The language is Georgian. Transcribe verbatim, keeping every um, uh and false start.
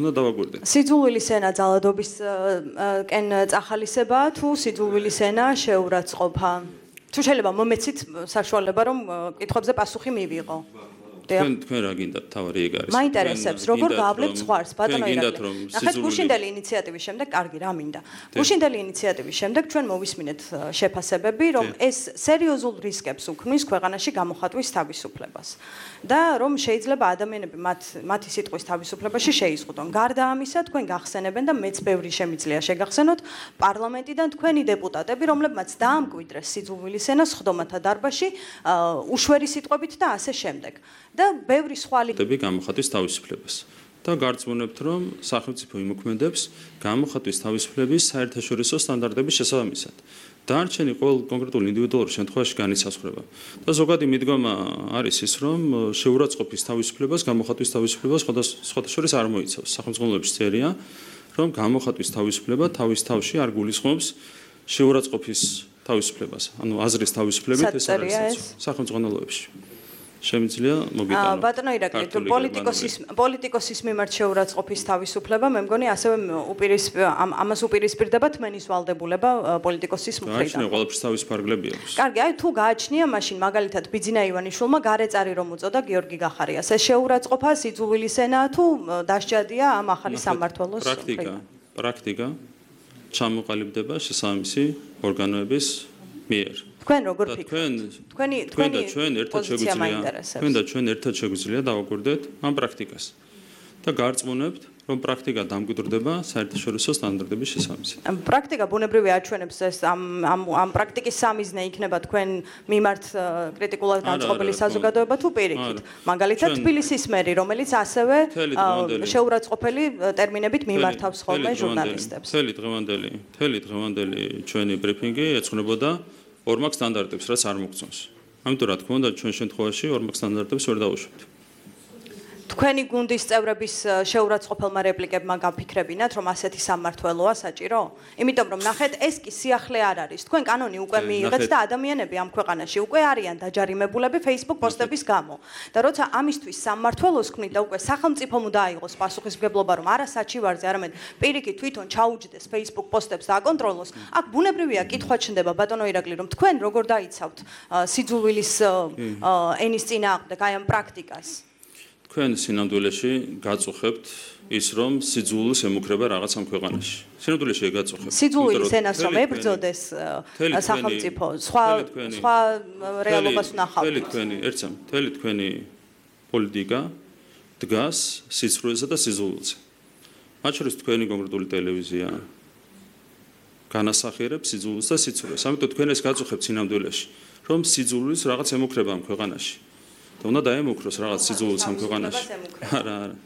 უნდა დავაგვირდეთ. სიძულვილის ენა ძალადობისკენ წახალისებაა თუ სიძულვილის ენა შეურაცხყოფა? თუ შეიძლება მომეცით საშუალება რომ კითხვებზე პასუხი მივიღო. თქვენ თქვენ რა გინდათ თავარი ეგ არის. მაინტერესებს როგორ გაავლებთ ზღვარს ბატონო ირაკლი. ნახეთ გუშინდელი ინიციატივის შემდეგ კარგი რა მინდა. გუშინდელი ინიციატივის შემდეგ ჩვენ მოვისმინეთ შეფასებები რომ ეს სერიოზულ რისკებს უქმნის ქვეყანაში გამოხატვის თავისუფლებას და რომ შეიძლება ადამიანები მათ მათი სიტყვის თავისუფლებაში შეიზღუდონ. გარდა ამისა თქვენ გახსენებენ და მეც ბევრი შემიძლია შეგახსენოთ პარლამენტიდან თქვენი დეპუტატები რომლებმაც დაამკვიდრეს სიძულვილის ენა სხდომათა დარბაზში უშვერი სიტყვებით და ასე შემდეგ. და ბევრი სხვა ლიდერები გამოხატვის თავისუფლებას და გარწმუნებთ რომ სახელმწიფო იმოქმედებს გამოხატვის თავისუფლების საერთაშორისო სტანდარტების შესაბამისად. დარჩენი ყოველ კონკრეტულ ინდივიდუალურ შემთხვევაში განისაზღვრება. და ზოგადი მიდგომა არის ის რომ შეურაცხყოფის თავისუფლებას გამოხატვის თავისუფლებას სხვადასხვა შორის არ მოიცავს. სახელმწიფოების წერია რომ გამოხატვის თავისუფლება თავის თავში არ გულისხმობს შეურაცხყოფის თავისუფლებას. ანუ აზრის თავისუფლებით ეს არ არის სახელმწიფოებში. შემიძლია მოგიტანო. ბატონო ირაკლი, პოლიტიკოსის პოლიტიკოსის მიმართ შეურაცხყოფის თავისუფლება, მე მგონი ასევე უპირისპირ ამას უპირისპირდება თმენის ვალდებულება პოლიტიკოსის მხრიდან. გააჩნია ყველაფერს თავის ფარგლები აქვს. კარგი, აი თუ გააჩნია, მაშინ მაგალითად ბიძინა ივანიშვილმა გარეწარი რომ უწოდა გიორგი გახარიას. ეს შეურაცხყოფა სიძულვილის ენაა თუ დასჯადია ამ ახალი სამმართველოს პრაქტიკა, პრაქტიკა ჩამოყალიბდება შესაბამისი ორგანოების მიერ. თქვენ როგორ ფიქრობთ? თქვენი თქვენი ჩვენ ერთად შეგვიძლია თქვენ და ჩვენ ერთად შეგვიძლია დავაკვირდეთ ამ პრაქტიკას და გარწმუნებთ რომ პრაქტიკა დამკვიდრდება საერთაშორისო სტანდარტების შესაბამისად. პრაქტიკა ბუნებრივი აჩვენებს ეს ამ ამ ამ პრაქტიკის სამიზნე იქნება თქვენ მიმართ კრიტიკულად განწყობილი საზოგადოება თუ პირიქით. მაგალითად თბილისის მერი რომელიც ასევე შეურაცხყოფელი ტერმინებით მიმართავს ხოლმე ჟურნალისტებს. მთელი დღევანდელი მთელი დღევანდელი ჩვენი ბრიფინგი ეძღვნებოდა ორმაგ სტანდარტებს, რაც არ მოგწონს. ამიტომ რა თქმა უნდა, ჩვენ შემთხვევაში ორმაგ სტანდარტებს ვერ დავუშვებთ. თქვენი გუნდის წევრების შეურაცხყოფელმა რეპლიკებმა გაფიქრებინათ, რომ ასეთი სამმართველოა საჭირო? იმიტომ რომ ნახეთ, ეს კი სიახლე არ არის. თქვენ კანონი უკვე მიიღეთ და ადამიანები ამ ქვეყანაში უკვე არიან დაჯარიმებულები Facebook პოსტების გამო. და როცა ამისთვის სამმართველოს ქმნით და უკვე სახელმწიფომ უნდა აიღოს პასუხისმგებლობა, რომ არა საჩივარზე, არამედ პირიქით თვითონ ჩაუჯდეს Facebook პოსტებს და აკონტროლოს, აქ ბუნებრივია კითხვა ჩნდება ბატონო ირაკლი, რომ თქვენ როგორ დაიცავთ სიძულვილის ენის წინააღმდეგ აი ამ პრაქტიკას? თქვენ სინამდვილეში გაწუხებთ ის რომ სიძულვილს ემუქრება რაღაც ამ ქვეყანაში. სინამდვილეში გაწუხებთ. სიძულვილის ენას რომ ებრძოდეს სახელმწიფო, სხვა სხვა რეალობას ვნახავთ. მთელი თქვენი, ერთსა, მთელი თქვენი პოლიტიკა დგას სიცრუესა და სიძულვილზე. მათ შორის თქვენი კონკრეტული ტელევიზია განასახიერებს სიძულვილს და სიცრუეს. ამიტომ თქვენ ეს გაწუხებთ სინამდვილეში, რომ სიძულვილს რაღაც ემუქრება ამ ქვეყანაში. და უნდა დაემუქროს რაღაც სიძულვილს ამ ქვეყანაში. არა, არა.